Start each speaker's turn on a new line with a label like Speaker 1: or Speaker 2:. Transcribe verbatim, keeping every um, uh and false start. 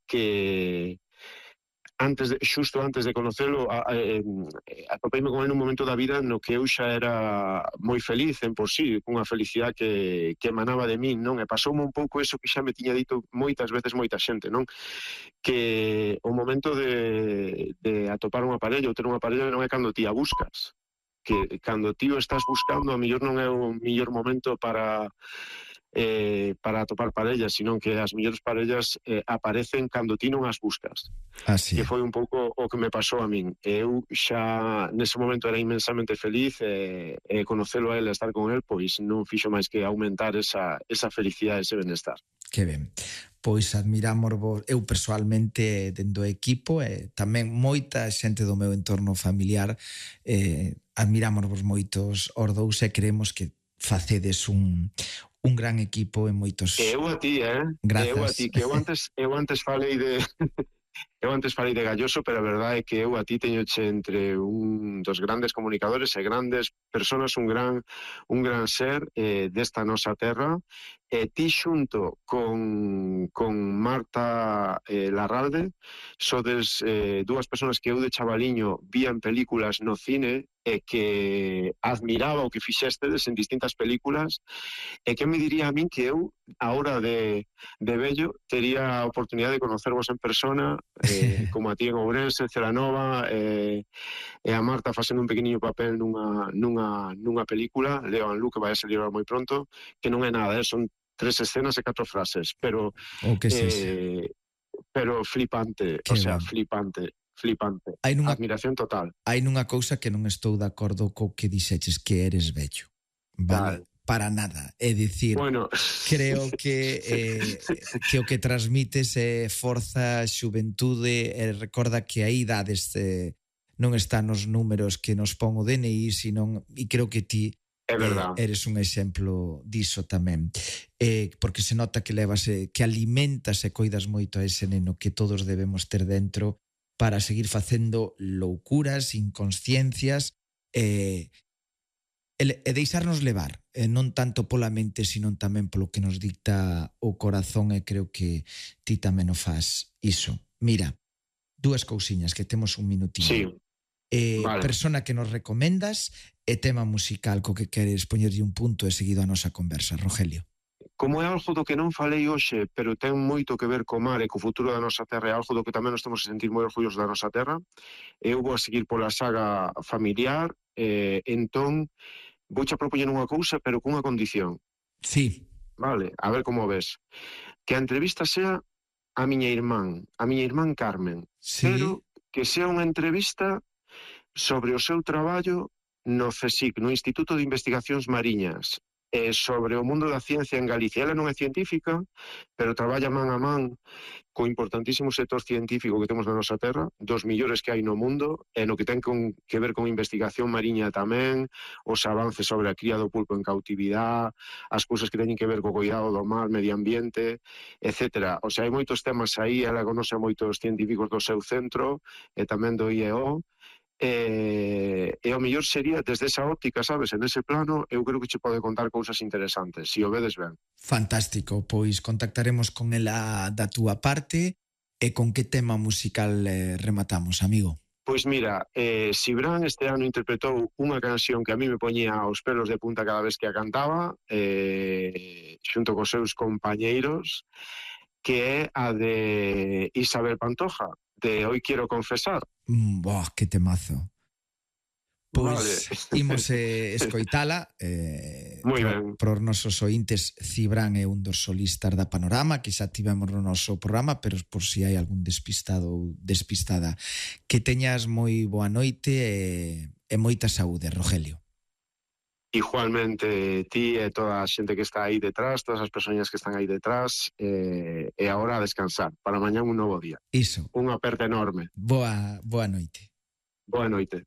Speaker 1: que antes de, xusto antes de conocelo, a, a, eh, atopeime con ele nun momento da vida no que eu xa era moi feliz en por sí, cunha felicidade que, que emanaba de min, non? E pasoume un pouco eso que xa me tiña dito moitas veces moita xente, non? Que o momento de, de atopar unha parella ou ter unha parella non é cando ti a buscas, que cando ti o estás buscando a mellor non é o mellor momento para eh, para atopar parellas, sino que as mellores parellas eh, aparecen cando ti non as buscas,
Speaker 2: Así
Speaker 1: que
Speaker 2: é.
Speaker 1: foi un pouco o que me pasou a min. Eu xa nese momento era inmensamente feliz e, e conocelo a ele, estar con el, pois non fixo máis que aumentar esa, esa felicidade, ese benestar.
Speaker 2: Que ben. Pois admiramos vos, eu persoalmente dentro do equipo e tamén moita xente do meu entorno familiar, eh, admiramos vos moitos os dous e creemos que facedes un, un gran equipo e moitos...
Speaker 1: Eu a ti, eh?
Speaker 2: Grazas.
Speaker 1: Eu a ti, que eu antes, eu antes falei de... Eu antes falei de Galloso, pero a verdade é que eu a ti teñoche entre un dos grandes comunicadores e grandes personas, un gran un gran ser eh, desta nosa terra, e ti xunto con, con Marta eh, Larralde sodes eh, dúas personas que eu de chavaliño vían películas no cine e que admiraba o que fixestedes en distintas películas, e que me diría a min que eu, a hora de, de vello, tería a oportunidade de conocervos en persona, eh, como a ti en Ourense, en Celanova, eh, e a Marta facendo un pequeniño papel nunha, nunha, nunha película, Leo and Luke, que vai a salir moi pronto, que non é nada, eh, son tres escenas e catro frases, pero
Speaker 2: O que
Speaker 1: eh, pero flipante,
Speaker 2: que
Speaker 1: o sea,
Speaker 2: ben.
Speaker 1: flipante, flipante,
Speaker 2: Hai nunha,
Speaker 1: admiración total.
Speaker 2: Hai nunha cousa que non estou de acordo co que dixeches, que eres vello, vale?
Speaker 1: Tal.
Speaker 2: Para nada, é dicir,
Speaker 1: bueno.
Speaker 2: creo que eh, que o que transmites é forza, xuventude, e recorda que a idades eh, non está nos números que nos pon o D N I, sino, e creo que ti
Speaker 1: É verdad.
Speaker 2: Eh, eres un exemplo diso tamén. Eh, porque se nota que levas, eh, que alimentas e coidas moito a ese neno que todos debemos ter dentro para seguir facendo loucuras, inconsciencias eh, e, e deixarnos levar, eh, non tanto pola mente, sino tamén polo que nos dicta o corazón, e creo que ti tamén o faz iso. Mira, dúas cousiñas que temos un minutinho.
Speaker 1: Sí.
Speaker 2: Eh,
Speaker 1: vale.
Speaker 2: Persona que nos recomendas e tema musical co que queres poñerlle un punto e seguido a nosa conversa, Rogelio.
Speaker 1: Como é algo do que non falei hoxe, pero ten moito que ver co mar e co futuro da nosa terra, é algo do que tamén nos temos a sentir moi orgullosos da nosa terra, eu vou a seguir pola saga familiar, eh, entón vouche a propoñer unha cousa, pero cunha condición.
Speaker 2: Sí.
Speaker 1: Vale, a ver como ves. Que a entrevista sea a miña irmán, a miña irmán Carmen,
Speaker 2: sí.
Speaker 1: Pero que sea unha entrevista sobre o seu traballo no CSIC, no Instituto de Investigacións Mariñas, e sobre o mundo da ciencia en Galicia. Ela non é científica, pero traballa man a man co importantísimo sector científico que temos na nosa terra, dos millores que hai no mundo, e no que ten con, que ver con investigación mariña tamén, os avances sobre a cría do pulpo en cautividade, as cousas que teñen que ver co cuidado do mar, medio ambiente, etcétera. O sea, hai moitos temas aí, ela conoce a moitos científicos do seu centro, e tamén do I E O, E, e o mellor sería desde esa óptica, sabes, en ese plano eu creo que che pode contar cousas interesantes, se o vedes ben.
Speaker 2: Fantástico, pois contactaremos con ela da túa parte. E con que tema musical eh, rematamos, amigo?
Speaker 1: Pois mira, eh, Cibrán este ano interpretou unha canción que a mí me poñía os pelos de punta cada vez que a cantaba, eh, xunto cos seus compañeiros, que é a de Isabel Pantoja, de Hoy Quiero Confesar.
Speaker 2: Mm, boh, que temazo. Pois
Speaker 1: vale.
Speaker 2: imos eh, escoitala eh,
Speaker 1: Moi
Speaker 2: pro,
Speaker 1: ben.
Speaker 2: Pro os nosos ointes. Cibrán é un dos solistas da Panorama que xa tivemos no noso programa, pero por si hai algún despistado ou despistada, que teñas moi boa noite e, e moita saúde, Rogelio.
Speaker 1: Igualmente ti e toda a xente que está aí detrás, todas as persoas que están aí detrás, eh, e agora a descansar para mañán un novo día.
Speaker 2: Iso.
Speaker 1: Unha aperta enorme.
Speaker 2: Boa, boa noite.
Speaker 1: Boa noite.